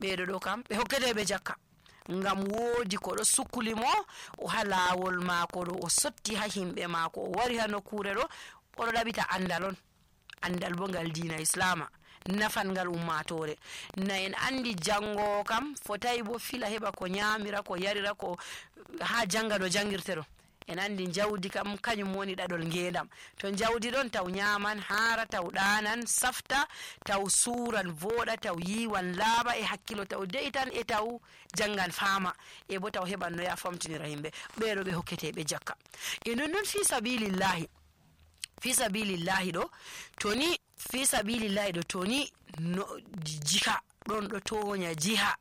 ɓeɗo ɗo kam ɓe hokketeɓe jakka ngam woodi ko ɗo sukli mo o ha laawol maako ɗo o sotti ha himɓe maako o wari ha nokkure ɗo oɗo ɗaɓita andal on andal bo ngal diina islama nafan ngal ummatore na en andi jango kam fotai bo fila heɓa ko nyamira ko yarira ko ha janga no jangirte ɗo en andi jawdi kam kañum woni ɗaɗol ngendam to jawdi ɗon taw nyaman hara taw ɗanan safta taw suran voɗa taw yiwan laaɓa e hakkilo taw de'itan e taw jangan fama e bo taw heɓan no ya famtinira yimɓe ɓeɗo ɓe hokketeɓe jakka e non fi sabilillahi ɗo toni fi sabilillahi ɗo toni no jiha ɗon ɗo toña jiha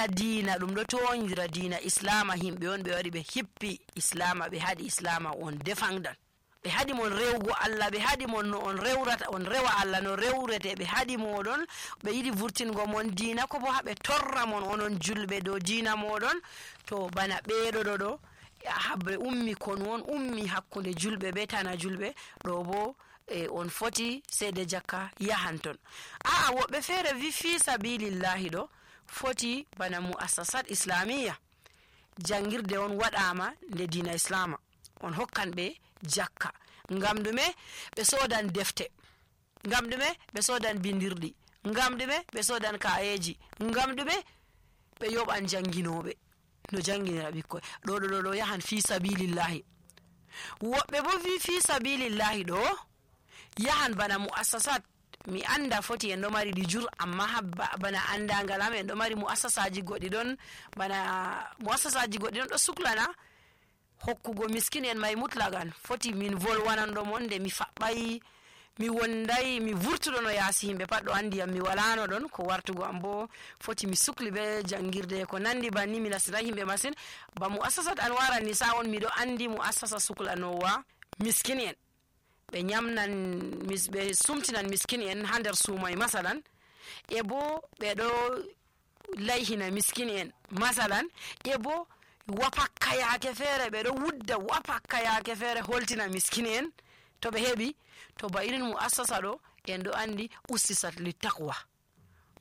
diina ɗum ɗo toñira diina islama himɓe on ɓe wari ɓe hippi islama ɓe haɗi islama on defangdan ɓe haɗi mon rewgo Allah ɓe haɗi mon no on rewrata on rewa Allah no rewrete ɓe haɗi moɗon ɓe yiɗi vurtingo mon diina ko bo haɓe torra mon onon julɓe dow diina moɗon to bana ɓeɗo ɗo habre ummi kon won ummi hakkunde julɓe be tana julɓe ɗo bo on foti seede jakka yahan ton woɓɓe feere wi fi sabilillahi ɗo foti bana muassasat islamiya jangirde on waɗama nde diina islama on hokkan ɓe jakka ngam ɗume ɓe sodan defte ngam ɗume ɓe sodan bindirɗi ngam ɗume ɓe sodan kayeji ngam ɗume ɓe yoɓan janginoɓe no janginira ɓikkoy ɗo yahan fi sabilillahi woɓɓe bo fi sabilillahi ɗo yahan bana muassasat mi anda foti en ɗo mari ɗi jur amma bana andangal am en ɗo mari muassasaji goɗɗi ɗon bana muassasaji goɗɗi ɗon ɗo suklana hokkugo miskin en may mutlagan foti min volwananɗo mon nde mi faɓɓay mi wonday mi vurtuɗo no yaasi yimɓe pat ɗo andi am mi walano ɗon ko wartugo am bo foti mi sukli be jangirde ko nandi banni mi nasiray yimɓe masin ba muassasat Anwara Nisa on miɗo andi muassasa suklanowa miskin en ɓe nyamnan ɓe sumtinan miskin en ha nder suumay masalan e bo ɓe ɗo layhina miskin en masalan e bo wapakka yaake feere ɓe ɗo wudda wapakka yaake feere holtina miskin en to ɓe heɓi to ba irin muassasa ɗo en ɗo andi ussisat li taqwa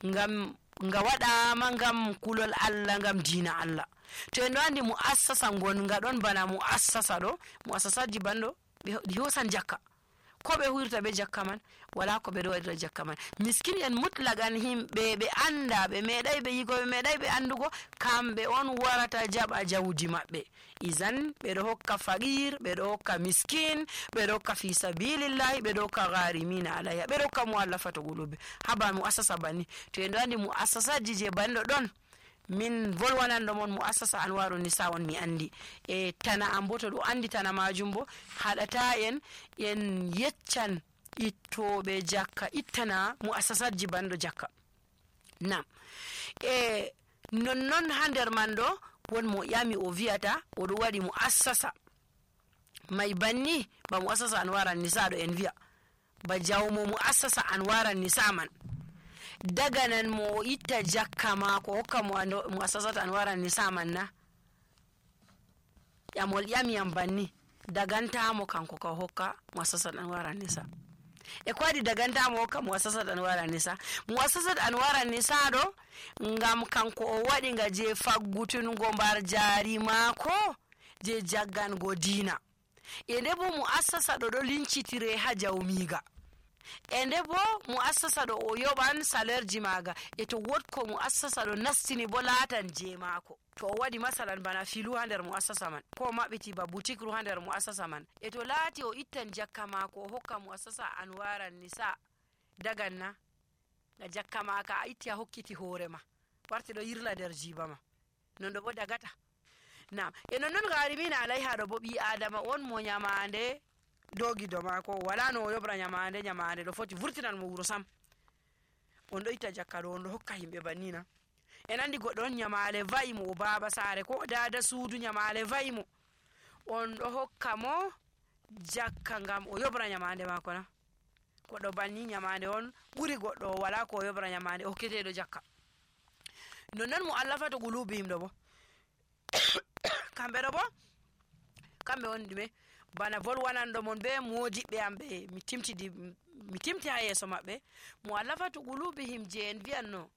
ngam nga waɗama ngam kulol Allah ngam diina Allah to en ɗo andi muassasa gonga ɗon bana muassasa ɗo muassasaji banɗo ɓe hosan jakka ko ɓe huirta be jakka man wala ko ɓe ɗo waɗira jakka man miskin en mutlagan himɓe ɓe anda ɓe meeɗay ɓe yigo ɓe meeɗay ɓe andugo kamɓe on warata jaɓa jawdi maɓɓe izan ɓe ɗo hokka faqir ɓe ɗo hokka miskin ɓe ɗo hokka fi sabilillahi ɓe ɗo hokka gharimina alayha ɓe ɗo hokka muallafatu qulubi haba muassasa banni to en ɗo andi muassasaji je banɗo ɗon min volwananɗo mon muassasa Anwaru Nisa on mi andi e tana am bo to ɗo andi tana majum bo haɗata en yeccan ittoɓe jakka ittana muassasatji banɗo jakka nam e nonnon ha nder man ɗo won mo ƴami o wiyata oɗo waɗi muassasa may banni ba muassasa Anwara Nisa ɗo en wiya ba jawmo muassasa Anwara Nisa man daganan mo o itta jakka mako hokka mo muassasat Anwara Nisa man na ƴamol ƴami yam banni dagantamo kanko ka hokka muassasat Anwara Nisa e ko waɗi dagantamo hokka muassasat Anwara Nisa muassasat Anwara Nisa ɗo ngam kanko o waɗi nga je faggutungo mbar jari mako je jaggango diina e nde bo muassasa ɗo lincitire ha jawmiga e nde bo muassasa ɗo o yoɓan salaire ji maga e to wodko muassasa ɗo nastini bo laatan je mako to o waɗi masalan bana filu ha nder muassasa man ko maɓɓiti ba boutique ru ha nder muassasa man e to laati o ittan jakka mako o hokka muassasa Anwara Nisa daganna na jakka maka a itti a hokkiti hoorema warti ɗo yirla nder jiba ma non ɗo bo dagata nam e nonnon gharimina alayha ɗo bo ɓi adama on mo nyamande dogido mako wala no o yobra nyamande ɗo foti vurtinan mo wuro sam on ɗo itta jakka ɗo on ɗo hokka himɓe bannina en andi goɗɗo on nyamale va'i mo o baba sare ko dada suudu nyamale va'i mo on ɗo hokka mo jakka ngam o yobra nyamande mako na goɗɗo banni nyamande on ɓuri goɗɗo wala ko o yobra nyamande o hokketeɗo jakka nonnon muallafatu qulubihim ɗo bo kamɓe ɗo bo kamɓe on ɗume bana volwananɗo mon be modiɓɓe am ɓe mi timti ha yeeso maɓɓe muallafatu qulubihim je en wiyanno